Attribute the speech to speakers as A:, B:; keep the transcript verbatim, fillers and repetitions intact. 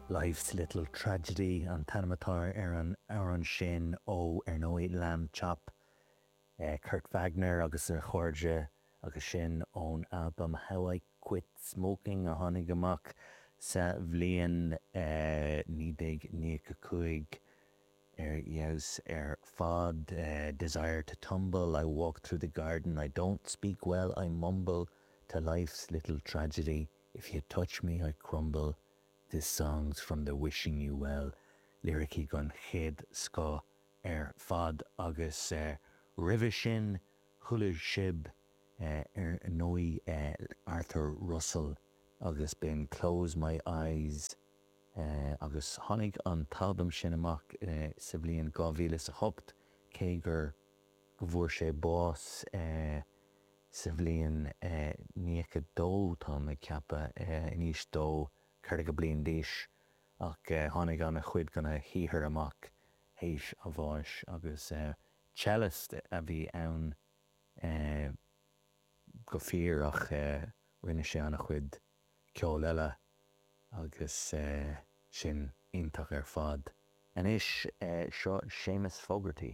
A: Life's Little Tragedy an t-ainm atá ar an amhrán sin ó ar ndóigh Lambchop eh, Kurt Wagner agus a chairde agus sin ón album How I Quit Smoking a tháinig amach sa bhliain eh, naoi déag nócha cúig ar fheabhas ar fad uh, desire to tumble I walk through the garden I don't speak well I mumble to life's little tragedy if you touch me I crumble this song's from the wishing you well liricí den chéad scoth ar fad agus uh, roimhe sin chuala sibh uh, ar ndóigh uh, Arthur Russell agus b'in Close My Eyes uh, agus tháinig an t-albam sin amach uh, sa bhliain dhá mhíle a hocht cé gur go bhfuair sé bás uh, sa bhliain uh, nócha dó tá mé ag ceapadh uh, in aois dó ceathracha bliain d'aois ach uh, tháinig an-chuid dena shaothar amach théis a bháis agus uh, cellist a bhí ann uh, go fíor ach uh, rinne sé an-chuid ceol eile agus uh, sin iontach ar fad. Anois uh, seo Séamus Fogarty.